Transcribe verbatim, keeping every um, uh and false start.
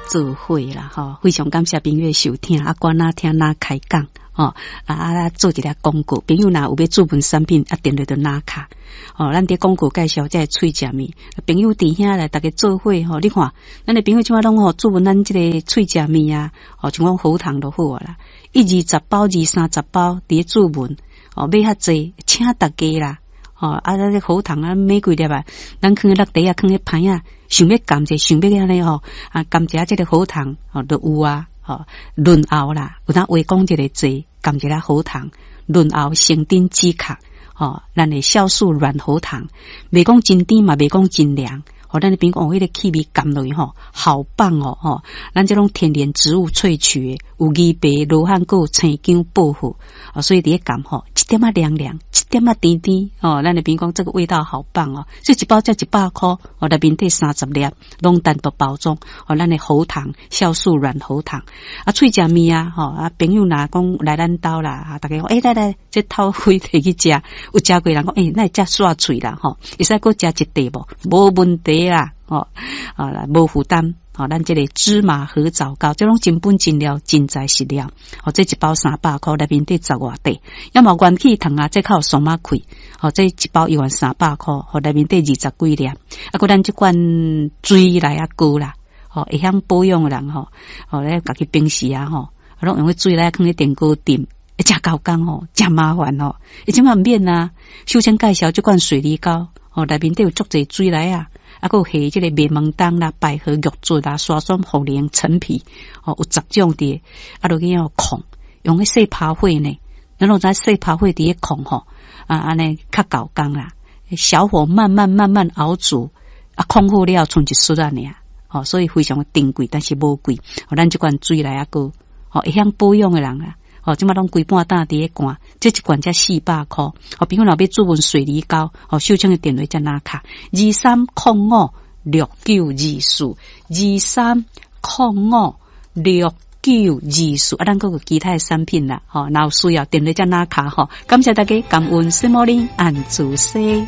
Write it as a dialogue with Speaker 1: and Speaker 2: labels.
Speaker 1: 做伙啦，吼，非常感謝朋友的收聽，啊，管哪聽哪開講，吼，啊啊做一个廣告，朋友若有欲注文產品，啊，電話就拿卡，吼，咱佇廣告介紹這个喙食麵，朋友佇遐來，逐家做伙吼，你看，咱的朋友這擺攏吼注文咱這个喙食麵啊，吼，像講喉糖就好啊啦，一二十包，二三十包佇咧注文，哦，買較濟，請逐家啦。吼，啊，咱這喉糖啊，買幾粒啊，咱囥佇落袋啊，囥佇盤仔，想欲含者，想欲按呢吼，啊，含一下這个喉糖，吼，就有啊，吼，潤喉啦，有當話講一个濟，含一下喉糖，潤喉生津止渴，吼，咱的酵素軟喉糖，袂講真甜嘛，袂講真涼。吼，咱的朋友講彼個氣味含落去吼，好棒哦！吼，咱這種天然植物萃取的，有枇杷、羅漢果、生薑、薄荷，哦，所以佇咧含吼，一點仔涼涼，一點仔甜甜，哦，咱的朋友講這個味道好棒哦！所以一包才一百箍，哦，內面底三十粒，攏單獨包裝，哦，咱的喉糖、酵素軟喉糖，啊，喙食麵啊，吼，啊，朋友若講來咱兜啦，啊，逐家講，欸，來來，這透開提去食，有食過人講，欸，哪會遮煞喙啦，吼，會使閣食一塊無？無問題啦，吼，啊，無負擔，吼，咱這個芝麻核棗糕，這攏真本真料，真材實料，吼，這一包三百箍，內面底十外塊，抑嘛元氣糖啊，這較有鬆仔氣，吼，這一包一萬三百箍，吼，內面底二十幾粒，啊，閣咱這款水內仔膏啦，吼，會曉保養的人吼，吼，咧家己平時啊，吼，攏用彼水來囥佇電鍋浸，會誠猴工吼，誠麻煩吼，伊這擺毋免啊，首先介紹這款水梨膏，吼，內面底有足濟水梨啊。啊，閣有下這個麥門冬啦、百合、玉竹啦、沙參、茯苓、陳皮，吼，有十種佇，啊，落去予控，用彼細拋火呢，咱攏知細拋火佇咧控吼，啊，按呢較猴工啦，小火慢慢慢慢熬煮，啊，控好了，賰一匙仔爾，吼，所以非常的珍貴，但是無貴。吼，咱這款水梨仔膏，吼，會曉保養的人啊，吼，這擺攏規半擔佇咧灌，這一罐才四百箍。吼，朋友若欲注文水梨膏，吼，秀清的電話才拿卡，二三空五六九二四，二三空五六九二四。啊，咱閣有其他的產品啦，吼，若有需要電話才拿卡吼。感謝大家，感恩聖母林按主西。